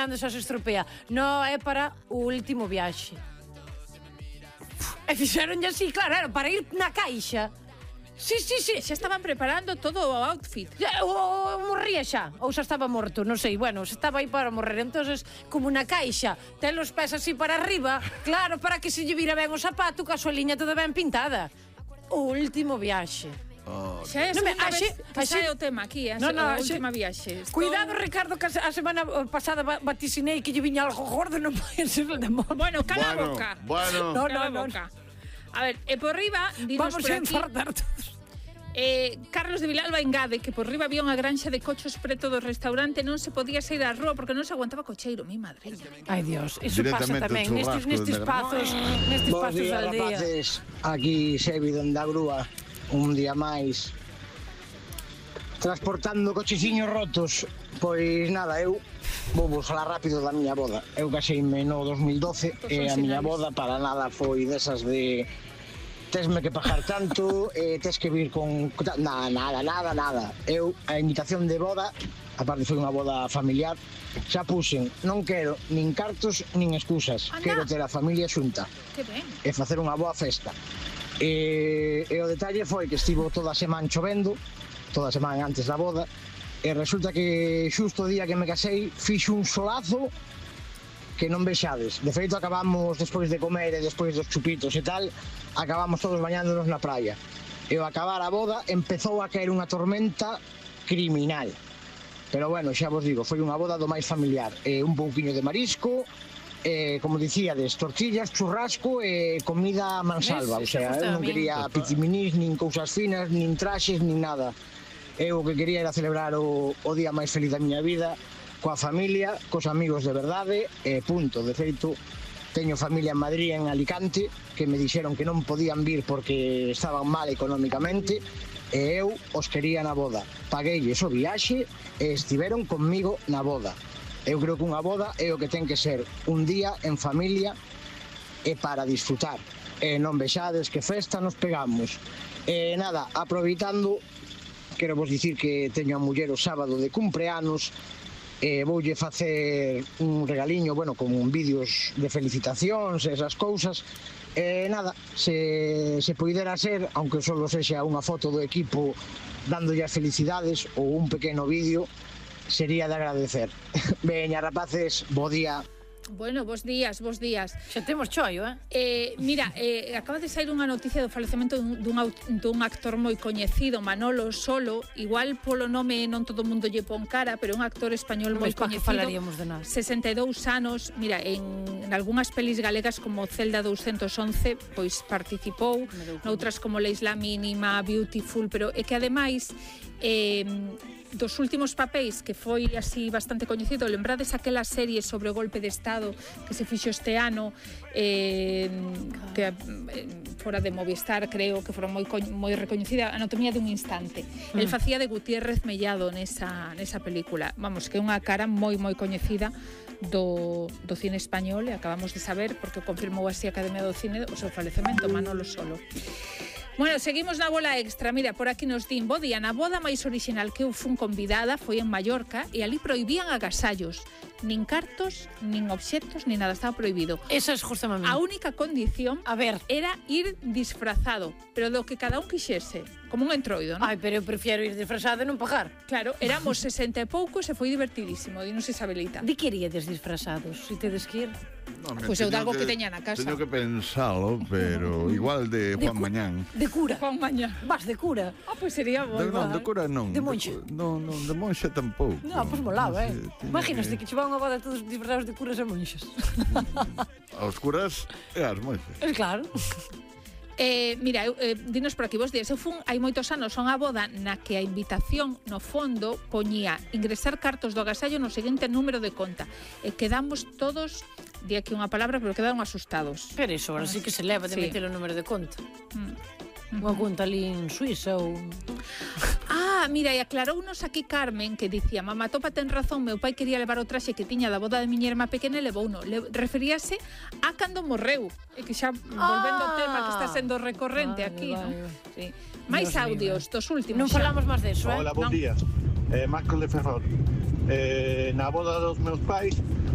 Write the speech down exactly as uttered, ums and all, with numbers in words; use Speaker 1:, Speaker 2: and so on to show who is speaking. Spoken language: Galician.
Speaker 1: cando xa se estropea. No, é para o último viaxe. E fixeronlle así, claro, era para ir na caixa. Sí, sí, sí.
Speaker 2: Xa estaban preparando todo o outfit.
Speaker 1: O morría xa, ou xa estaba morto, non sei. Bueno, xa estaba aí para morrer. Entonces, como na caixa, ten os pés así para arriba, claro, para que se lle vira ben o zapato, ca súa liña toda ben pintada. O último viaxe.
Speaker 3: Oh.
Speaker 2: Xa é a
Speaker 1: Non,
Speaker 2: segunda
Speaker 1: así-
Speaker 2: vez que
Speaker 1: así-
Speaker 2: sae o tema aquí, a,
Speaker 1: No, no,
Speaker 2: a
Speaker 1: así-
Speaker 2: última viaxe. Estou-
Speaker 1: Cuidado, Ricardo, que a semana pasada va- vaticinei que lle viña algo gordo, non pode ser el demonio.
Speaker 2: Bueno, cala a
Speaker 3: Bueno,
Speaker 2: boca.
Speaker 3: bueno.
Speaker 1: No,
Speaker 2: Cala a
Speaker 1: no, no.
Speaker 2: boca. A ver, e por riba, dinos
Speaker 1: Vamos
Speaker 2: por
Speaker 1: a
Speaker 2: aquí,
Speaker 1: infartar todos.
Speaker 2: eh, Carlos de Vilalba engade que por riba había unha granxa de cochos preto do restaurante, non se podía sair á rúa porque non se aguantaba cocheiro, mi madre.
Speaker 1: Ai, Dios, iso pasa
Speaker 3: Directamente
Speaker 1: tamén
Speaker 3: o
Speaker 1: nestes,
Speaker 3: churrasco
Speaker 1: nestes
Speaker 3: de-
Speaker 1: pazos, nestes
Speaker 4: Bos
Speaker 1: pazos
Speaker 4: días,
Speaker 1: al día.
Speaker 4: rapaces. Aquí Sebi donde a grúa, un día máis. Transportando cocheciños rotos. Pois nada, eu vou vos falar rápido da miña boda. Eu caseime no dos mil doce e a miña boda para nada foi desas de tesme que pagar tanto, eh, tes que vir con... Nada, nada, nada, nada. Eu, a invitación de boda, aparte foi unha boda familiar, xa puxen, non quero nin cartos nin excusas.
Speaker 2: Anda.
Speaker 4: Quero ter a familia xunta
Speaker 2: Que ben.
Speaker 4: e facer unha boa festa. E, e o detalle foi que estivo toda a semana chovendo, toda a semana antes da boda, e resulta que xusto o día que me casei fixo un solazo que non vexades. De feito, acabamos, despois de comer e despois dos chupitos e tal, acabamos todos bañándonos na praia. E ao acabar a boda, empezou a caer unha tormenta criminal. Pero bueno, xa vos digo, foi unha boda do máis familiar. E un pouquiño de marisco, eh, como dicíades, tortillas, churrasco e comida mansalva. O
Speaker 1: Ves,
Speaker 4: sea,
Speaker 1: iso
Speaker 4: eu non
Speaker 1: gusta a min.
Speaker 4: quería pitiminís, nin cousas finas, nin traxes, nin nada. Eu o que quería era celebrar o, o día máis feliz da miña vida, coa familia, cos amigos de verdade, e punto. De feito, teño familia en Madrid, en Alicante, que me dixeron que non podían vir porque estaban mal económicamente, e eu os quería na boda. Pagueilles o viaxe e estiveron conmigo na boda. Eu creo que unha boda é o que ten que ser un día en familia e para disfrutar. E non vexades que festa nos pegamos. E nada, aproveitando, quero vos dicir que teño a muller o sábado de cumpleanos, e voulle facer un regaliño, bueno, con vídeos de felicitacións e esas cousas. E nada, se, se poidera ser, aunque só sexa unha foto do equipo dándolle as felicidades ou un pequeno vídeo, sería de agradecer. Veña, rapaces, bo día.
Speaker 2: Bueno, bos días, bos días.
Speaker 1: Xa temos choio, eh?
Speaker 2: Eh, mira, eh, acaba de sair unha noticia do falecemento dun, dun, aut- dun actor moi coñecido, Manolo Solo. Igual polo nome non todo o mundo lle pon cara, pero é un actor español moi
Speaker 1: Pois pa que
Speaker 2: coñecido.
Speaker 1: falaríamos de nada.
Speaker 2: sesenta e dous anos, mira, en, en algunhas pelis galegas como Celda doscientos once, pois participou, noutras como La Isla Mínima, Beautiful, pero é que ademais eh, dos últimos papéis que foi así bastante coñecido, lembrades aquela serie sobre o golpe de Estado que se fixo este ano, eh, que eh, fora de Movistar, creo que foron moi coñ- moi recoñecida, Anatomía dun instante. Mm. El facía de Gutiérrez Mellado nesa nesa película. Vamos, que é unha cara moi moi coñecida do, do cine español, e acabamos de saber, porque confirmou así a Academia do Cine, o seu falecemento, Manolo Solo. Bueno, seguimos na bola extra. Mira, por aquí nos din, bo día, na boda máis orixinal que eu fun convidada foi en Mallorca e ali prohibían agasallos. Nin cartos, nin obxectos, nin nada, estaba prohibido.
Speaker 1: Eso es justamente.
Speaker 2: A única condición
Speaker 1: A ver.
Speaker 2: era ir disfrazado, pero do que cada un quixese, como un entroido, non?
Speaker 1: Ai, pero eu prefiero ir disfrazado e non pagar.
Speaker 2: Claro, éramos sesenta e poucos e foi divertidísimo, dinos Isabelita.
Speaker 1: De que iríades disfrazados? Si tedes que ir?
Speaker 3: No,
Speaker 2: Pois eu de algo que teña na casa.
Speaker 3: Teño que pensalo, pero igual de Juan
Speaker 1: cu-
Speaker 3: Mañán.
Speaker 1: De cura.
Speaker 2: Juan Mañá.
Speaker 1: Vas de cura.
Speaker 2: Ah, pois sería bo.
Speaker 3: De, non, de cura non.
Speaker 1: De monxa.
Speaker 3: cu- Non, non, de monxa tampouco.
Speaker 1: No, pois molaba, eh?
Speaker 3: sei, tiña
Speaker 1: Imagínate que che van a boda todos disfrazados de curas e monxas.
Speaker 3: Aos curas e as monxas.
Speaker 1: Es claro.
Speaker 2: Eh, mira, eu, eh, dinos por aquí vos días. Eu fun hai moitos anos a unha boda na que a invitación no fondo poñía ingresar cartos do agasallo no seguinte número de conta e quedamos todos, di aquí unha palabra, pero quedaron asustados.
Speaker 1: Pero iso, ahora sí que se leva de
Speaker 2: Sí.
Speaker 1: meter o número de conta.
Speaker 2: Mm.
Speaker 1: Unha conta ali en Suiza ou...
Speaker 2: Ah, mira, e aclarounos aquí Carmen que dicía, mamá, topa ten razón, meu pai quería levar o traxe que tiña da boda de miña irmá pequena e levouno. Le, referíase a cando morreu. E que xa, volvendo ao tema que está sendo recorrente
Speaker 1: Vale,
Speaker 2: aquí,
Speaker 1: vale.
Speaker 2: non? Sí. Mais
Speaker 1: Dios
Speaker 2: audios
Speaker 1: mío.
Speaker 2: dos últimos.
Speaker 1: Non
Speaker 2: xa.
Speaker 1: falamos máis deso, eh?
Speaker 5: Hola, bons
Speaker 2: Non.
Speaker 5: días. Eh, Marcos de Ferrol. Eh, na boda dos meus pais